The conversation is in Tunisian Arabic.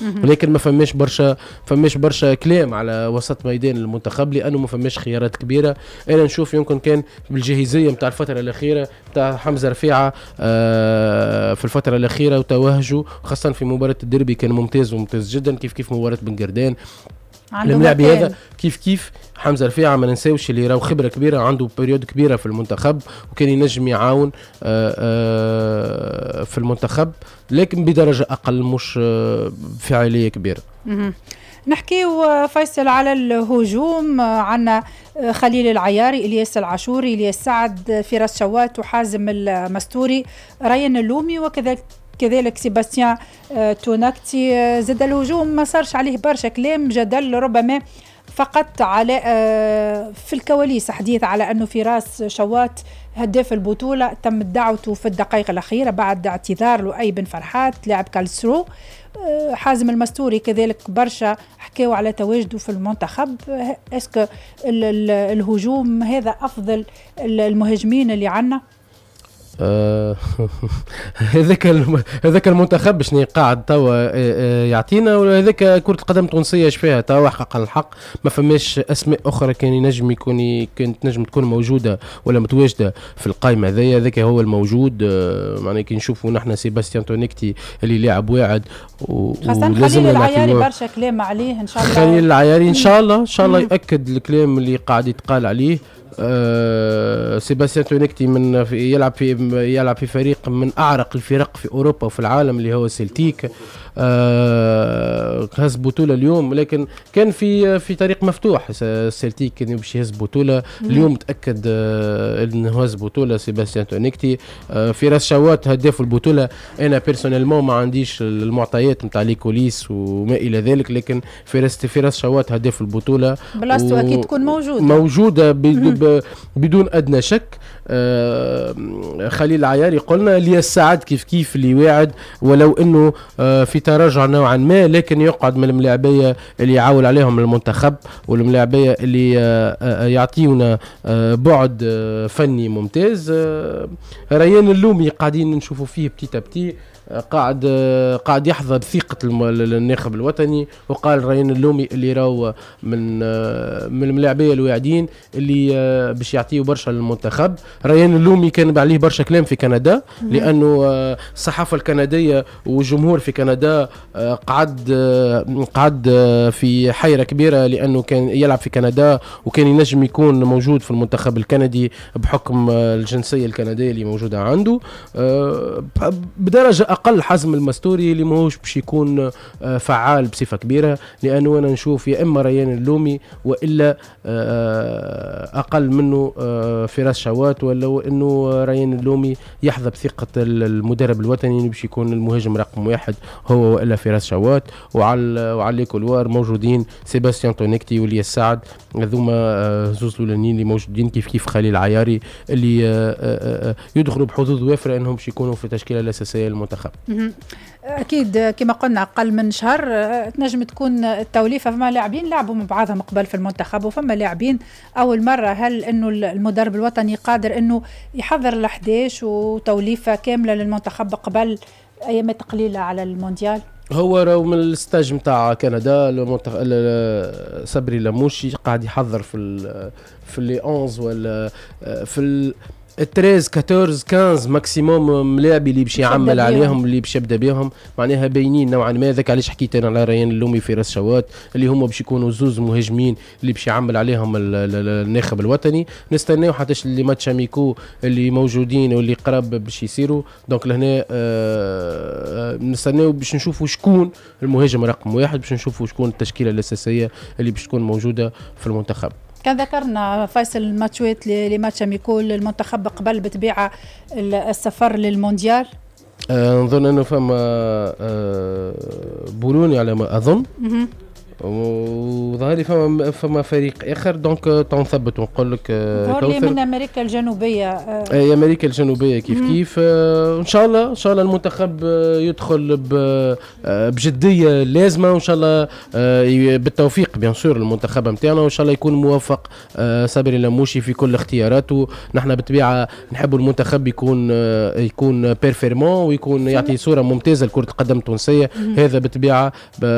ولكن ما فماش برشا كلام على وسط ميدان المنتخب، لانه ما فماش خيارات كبيره. انا نشوف يمكن كان بالجاهزيه نتاع الفترة الاخيرة نتاع حمزة رفيعة في الفترة الاخيرة وتوهجه، خاصة في مباراة الديربي كان ممتاز وممتاز جدا، كيف كيف مباراة بن قردان. الملاعب هذا كيف كيف حمزة رفيعه، ما ننساوش اللي راهو خبره كبيره، عنده période كبيرة في المنتخب وكان ينجم يعاون في المنتخب، لكن بدرجة اقل، مش فاعلية كبيره. نحكيو فيصل على الهجوم، عندنا خليل العياري، الياس العاشوري، الياس سعد، فراس شوات وحازم المستوري، ريان اللومي وكذلك سيباستيان توناكتي. زاد الهجوم ما صارش عليه برشا كلام، جدل ربما فقط على في الكواليس، حديث على انه فراس شوات هداف البطولة تم دعوته في الدقائق الاخيرة بعد اعتذار لؤي بن فرحات لاعب كالسرو. حازم المستوري كذلك برشا حكاوا على تواجده في المنتخب. est-ce que الهجوم هذا افضل المهاجمين اللي عندنا؟ هذاك المنتخب شنو قاعد توا يعطينا، وهذاك كرة القدم التونسية ايش فيها توا. حقا الحق ما فماش اسماء اخرى كان ينجم يكون كانت تنجم تكون موجودة ولا متواجدة في القائمة هذيا. هذاك هو الموجود. معناها كي نشوفوا نحن سيباستيان تونيكتي اللي لاعب واعد. خاصة خليل العياري برشا كلام عليه، ان شاء الله. خليل العياري ان شاء الله، ان شاء الله ياكد الكلام اللي قاعد يتقال عليه. سيباستيان تونيكتي من في يلعب في فريق من اعرق الفرق في اوروبا وفي العالم اللي هو سيلتيك. هز بطوله اليوم، لكن كان في طريق مفتوح السلتيك كان باش يهز بطوله اليوم. تاكد انه هز بطوله سيباستيان تونيكتي. فراس شوات هداف البطوله. انا personnellement ما عنديش المعطيات نتاع les coulisses وما الى ذلك، لكن فراس شوات هداف البطوله. بلاصتو اكيد تكون موجوده. موجودة بدون ادنى شك. خليل العياري قلنا، الياس سعد كيف كيف اللي واعد، ولو انه في تراجع نوعا ما، لكن يقعد من الملاعبيه اللي يعول عليهم المنتخب والملاعبيه اللي يعطيونا بعد فني ممتاز. ريان اللومي قاعدين نشوفوا فيه petit à petit قاعد يحظى بثقة الناخب الوطني، وقال ريان اللومي اللي راهو من الملاعبيه الواعدين اللي باش يعطيو برشا للمنتخب. ريان اللومي كان عليه برشا كلام في كندا، لانه الصحافة الكندية والجمهور في كندا قعد في حيره كبيره، لانه كان يلعب في كندا وكان ينجم يكون موجود في المنتخب الكندي بحكم الجنسية الكندية اللي موجودة عنده. بدرجة اقل حازم المستوري اللي ماهوش باش يكون فعال بصفة كبيره، لانه انا نشوف يا اما ريان اللومي والا اقل منه فراس شوات، ولو انه ريان اللومي يحظى بثقة المدرب الوطني باش يكون المهاجم رقم 1 هو والا فراس شوات. وعلى les couloirs موجودين سيباستيان تونيكتي والياس سعد، هذوما زوز الاولانيين اللي موجودين، كيف كيف خليل عياري اللي يدخلوا بحظوظ وافرة انهم باش يكونوا في التشكيلة الاساسية للمنتخب. اكيد كما قلنا اقل من شهر تنجم تكون التوليفه، فما لاعبين لعبوا مع بعضهم قبل في المنتخب وفما لاعبين اول مره. هل انه المدرب الوطني قادر انه يحضر ال11 وتوليفه كاملة للمنتخب قبل ايامات قليله على المونديال؟ هو راهو من ال stage نتاع كندا صبري لموشي قاعد يحضر في les 11 ولا في 13، 14، 15 maximum ملاعبي اللي باش يعمل عليهم، اللي باش يبدا بهم، معناها باينين نوعا ما. ذاك علاش حكيت انا على ريان اللومي، فراس شوات، اللي هما باش يكونوا زوز مهاجمين اللي باش يعمل عليهم الناخب الوطني. نستناو حتى les matchs amicaux اللي موجودين واللي قراب باش يصيروا، donc لهنا نستناو باش نشوفوا شكون المهاجم رقم 1، باش نشوفوا شكون التشكيلة الاساسية اللي باش تكون موجودة في المنتخب. كان ذكرنا فيصل الماتشوات، les matchs amicaux للمنتخب قبل بطبيعة السفر للمونديال. نظن انه فما بولوني على ما اظن. وظهر لي فما فريق اخر، donc تو نثبت ونقول لك. ظهر لي من امريكا الجنوبيه. اي، امريكا الجنوبية كيف كيف. ان شاء الله، ان شاء الله المنتخب يدخل بجدية لازمه، وان شاء الله بالتوفيق bien sûr المنتخب نتاعنا، وان شاء الله يكون موفق صبري اللموشي في كل اختياراته. نحن بالطبيعة نحب المنتخب يكون performant ويكون يعطي صوره ممتازة لكرة القدم التونسيه. هذا بالطبيعة.